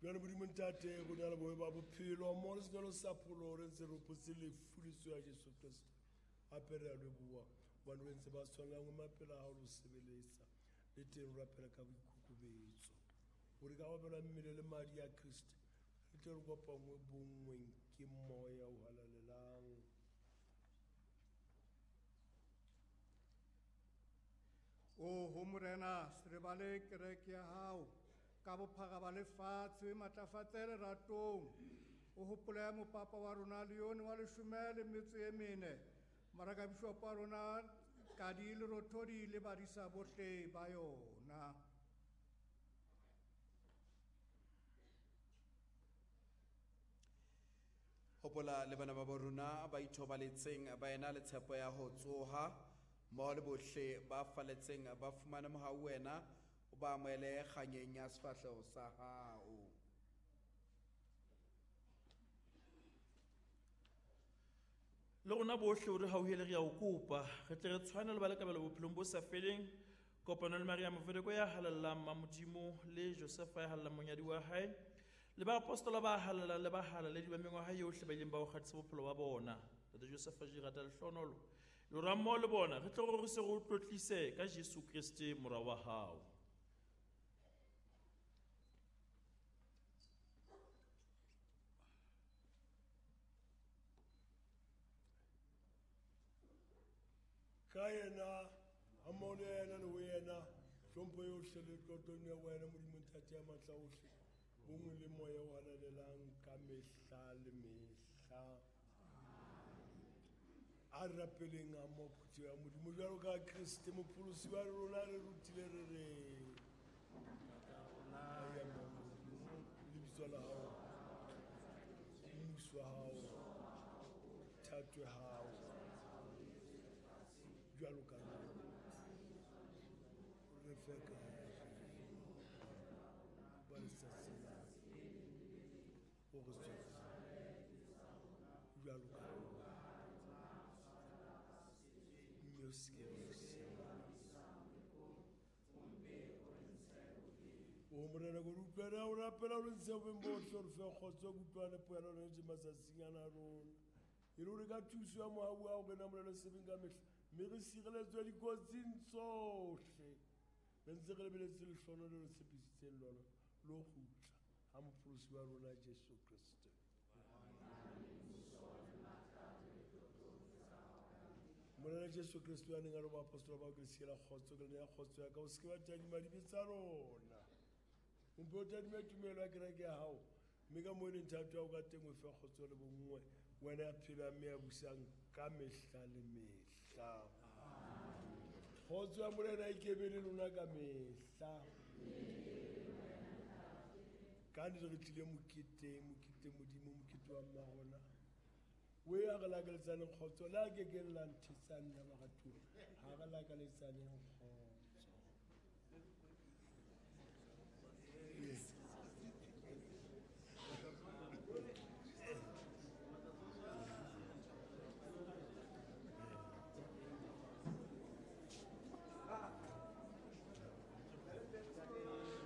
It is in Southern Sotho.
Bjale Modimo Ntate, go na le bobe ba bophelo mo re senelo sa pholo re ntse re hopotse lefu le tsoho ya Jesu Kriste. Hape re a leboha hobane re ntse ba tshwanelang ho mapela a hao le ho sebeletsa. Le teng re rapela ka boikokobetso hore ka go abelwa mmele le madi a Kriste re tle re kopangwe bonngweng ke moya o halalelang. Oho Morena, se rebale kereke ya hao ka bophara ba lefatshe, o e matlafatse leratong. O hopole mopapa wa rona Leone wa leshome le metso e mene, morakabishopo wa rona Kadi le Rothodi le badisa bohle ba yona. Hopola le bana ba bo rona ba ithobaletseng ba ena le tshepo ya ho tsoha, mmoho le bohle ba faletseng ba fumane mohau wena, o ba amohele kganyeng ya sefahleho sa hao. Le rona bohle o re hauhele, re a o kopa, re tle re tshwane le ba le kabelo bophelong bo sa feleng, kopano le Maria Movedeko ya halalelang Mmamodimo, le Josefa ya halalelang monyadi wa hae, le baapostola ba halalelang le bahalaledi ba mengwaha yohle ba ileng ba o kgathisa bophelo ba bona. Ntate Josefa Jirata lehlohonolo, le rona mmoho le bona re tle re se re o tlotlise ka Jesu Kriste mora wa hao. Ka yena, ha mmoho le yena le ho yena, hlompho yohle le tlotlong ya wena Modimo Ntate ya matla ohle, bonngwe le moya o halalelang ka mehla le mehla. A re rapeleng ha mmoho phutheho ya Modimo jwalo ka Kriste mopholosi wa rona re rutile re re, ya Modimo, lebitso la hao, mmuso wa hao, thato ya hao, jwalo ka rona. Re fe ka ba letsatsi la o re tswetse jwalo ka rona. Mme o se ke wa re siya. O Morena, ko re utlwe re a o rapela, o re ntshe bobeng bohle, o re fe kgotso, kutlwane, poelano le nnete matsatsing ana a rona. E le hore ka thuso ya mohau wa hao re namolelwe sebeng ka mehla, mme re sireletswe dikotsing tsohle. Re ntse re lebeletse lehlohonolo le re tshepisitseng lona, le ho kgutla ha mopholosi wa rona Jesu Kriste. Morena Jesu Kriste wa neng a re baapostola bao, ke le siela kgotso, ke le neya kgotso ya ka, o se ke wa tadima dibe tsa rona, o mpe o tadime tumelo ya kereke ya hao, mme ka moo e leng thato ya hao ka teng o fe kgotso le bonngwe, wena ya phelang mme ya busang ka mehla le mehla. Kgotso ya Morena e ke be le lona ka mehla. Ka nnete re tlile moketeng, mokete Modimo, mokete wa mma rona. O ya re lakaletsaneng kgotso, le a kekeng la nthetsa nna baratuwa, ha re lakaletsaneng kgotso.